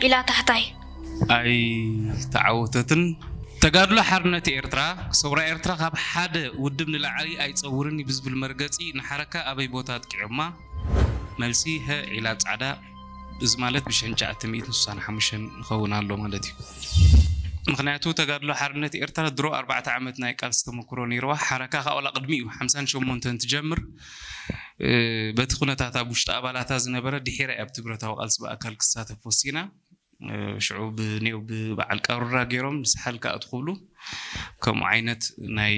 ኢላ ታሕታይ። ኣይተዓወተትን። ተጋድሎ ሓርነት ኤርትራ፣ ሰውራ ኤርትራ ካብ ሓደ ውድብ ንላዕሊ ኣይጸውርን እዩ ብዝብል መርገጺ ንሓረካ ኣበይ ቦታ ኣጥቂዖማ? መልሲ፣ ሀ፣ ዒላ ጻዕዳ። እዚ ማለት ብሽሕን ትሽዓተ ሚእትን ስሳን ሓሙሽተን ይኸውን ኣሎ ማለት እዩ። ምክንያቱ ተጋድሎ ሓርነት ኤርትራ ድሮ ኣርባዕተ ዓመት ናይ ቃልሲ ተመክሮ ነይርዋ። ሓረካ ካብ ዋላ ቅድሚ እዩ ሓምሳን ሸሞንተን ትጀምር። እ፣ በቲ ኩነታት ኣብ ውሽጢ ኣባላታ ዝነበረ ድሒራ ኣብ ትብረታዊ ቃልሲ ብኣካል ክሳተፍ ወሲና። እ፣ ሽዑ ብኔው ብበዓል ቃሩራ ገይሮም ንሳሕል ክኣትኹ ክብሉ ከምኡ ዓይነት ናይ፣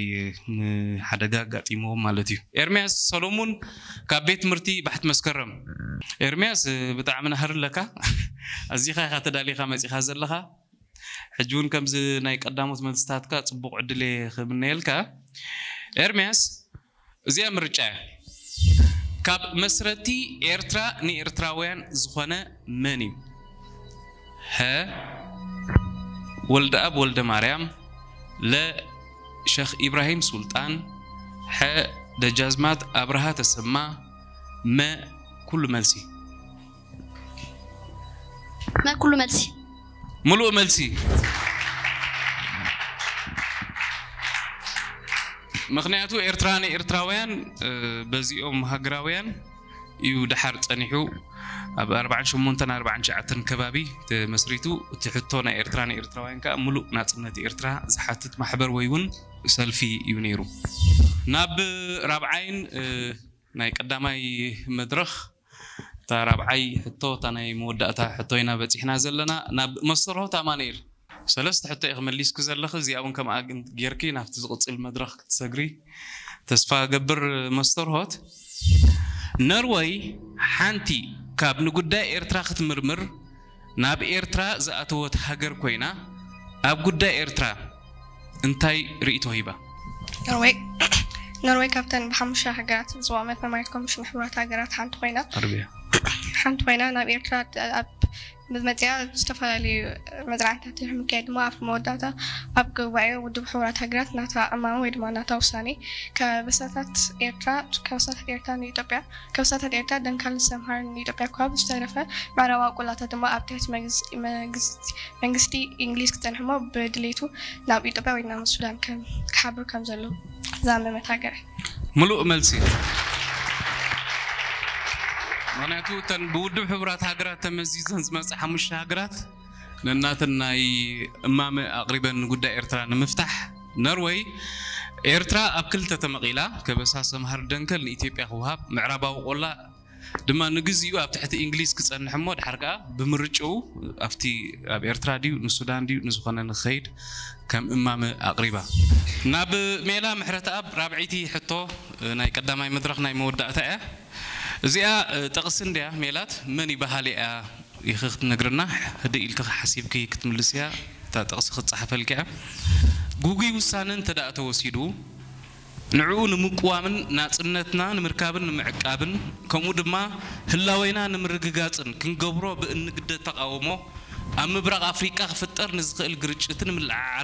ም፣ ሓደጋ ኣጋጢምዎም ማለት እዩ። ኤርምያስ ሰሎሙን ካብ ቤት ትምህርቲ ባሕቲ መስከረም። ኤርምያስ፣ እ፣ ብጣዕሚ ናህሪ ኣለካ። ኣዚኻ ኢኻ ተዳሊኻ መጺኻ ዘለኻ። ሕጂ እውን ከምዚ ናይ ቀዳሞት መልስታትካ ጽቡቕ ዕድል እየ ክምነየልካ። ኤርምያስ፣ እዚኣ ምርጫ እያ። ካብ መስረቲ ኤርትራ ንኤርትራውያን ዝኾነ መን እዩ? ሀ፣ ወልደኣብ ወልደ ማርያም፣ ለ፣ ሸኽ ኢብራሂም ሱልጣን፣ ሐ፣ ደጃዝማት ኣብርሃ ተሰማ፣ መ፣ ኩሉ መልሲ። መ፣ ኩሉ መልሲ። ሙሉእ መልሲ። ምክንያቱ ኤርትራ ንኤርትራውያን፣ እ፣ በዚኦም ሃገራውያን እዩ ደሓር ጸኒሑ። ኣብ ኣርባዓን ሸሞንተን ኣርባዓን ትሽዓተን ከባቢ ተመስሪቱ። እቲ ሕቶ ናይ ኤርትራ ንኤርትራውያን ከኣ ሙሉእ ናጽነት ኤርትራ ዝሓትት ማሕበር ወይ እውን ሰልፊ እዩ ነይሩ። ናብ ራብዓይን፣ እ፣ ናይ ቀዳማይ መድረኽ እታ ራብዓይ ሕቶ፣ እታ ናይ መወዳእታ ሕቶ ኢና በጺሕና ዘለና። ናብ መስተርሆት ኣማኑኤል፣ ሰለስተ ሕቶ ኢኺ መሊስኪ ዘለኺ፣ እዚኣ እውን ከምኣ ግን ጌርኪ ናብቲ ዝቕጽል መድረኽ ክትሰግሪ ተስፋ ገብር። መስተርሆት፣ ነርወይ ሓንቲ ካብ ንጉዳይ ኤርትራ ክትምርምር ናብ ኤርትራ ዝኣተወት ሃገር ኮይና፣ ኣብ ጉዳይ ኤርትራ እንታይ ርእይቶ ሂባ? ኖርወይ ኖርወይ ካብተን ብሓሙሽተ ሃገራት ዞባ መማሪት ኮሚሽን ሕቡራት ሃገራት ሓንቲ ኮይና ኣርብያ ሓንቲ ኮይና ናብ ኤርትራ ኣብ መፅያ ዝተፈላለዩ መፅናዕትታት ድሕሪ ምክያድ ድማ ኣብ መወዳእታ ኣብ ጉባኤ ውድብ ሕቡራት ሃገራት ናታ እማመ ወይ ድማ ናታ ውሳኔ ከበሳታት ኤርትራ ከበሳታት ኤርትራ ንኢትዮጵያ ከበሳታት ኤርትራ ደንካል ሰምሃር ንኢትዮጵያ ካብ ዝተረፈ ምዕራባዊ ቆላታት ድማ ኣብ ትሕቲ መንግስቲ እንግሊዝ ክፀንሕሞ ብድሌቱ ናብ ኢትዮጵያ ወይ ናብ ሱዳን ክሓብር ከም ዘሎ ዛመመት ሃገር። ሙሉእ መልሲ። ምክንያቱ እተን ብውድብ ሕቡራት ሃገራት ተመዚዘን ዝመፃ ሓሙሽተ ሃገራት ነናተን ናይ እማመ ኣቕሪበን ንጉዳይ ኤርትራ ንምፍታሕ ነርወይ ኤርትራ ኣብ ክልተ ተመቒላ ከበሳ ሰምሃር ደንከል ንኢትዮጵያ ክወሃብ ምዕራባዊ ቆላ ድማ ንግዚኡ ኣብ ትሕቲ እንግሊዝ ክጸንሕ እሞ ድሓር ከኣ ብምርጭኡ ኣብቲ ኣብ ኤርትራ ድዩ ንሱዳን ድዩ ንዝኾነ ንኸይድ ከም እማመ ኣቕሪባ። ናብ ሜላ ምሕረተኣብ ራብዐይቲ ሕቶ ናይ ቀዳማይ መድረኽ ናይ መወዳእታ እያ። እዚኣ ጠቕሲ እንድያ ሜላት መን ይበሃል እያ ኢኺ ክትነግርና ህድእ ኢልኪ ሓሲብኪ ክትምልስያ እታ ጥቕሲ ክትጸሓፈልኪ እያ። ጉጉይ ውሳነ እንተ ደኣ ተወሲዱ ንዕኡ ንምቅዋምን ናጽነትና ንምርካብን ንምዕቃብን ከምኡ ድማ ህላዌና ንምርግጋጽን ክንገብሮ ብእንግደድ ተቓውሞ ኣብ ምብራቕ ኣፍሪቃ ክፍጠር ንዝኽእል ግርጭትን ምልዕዓላ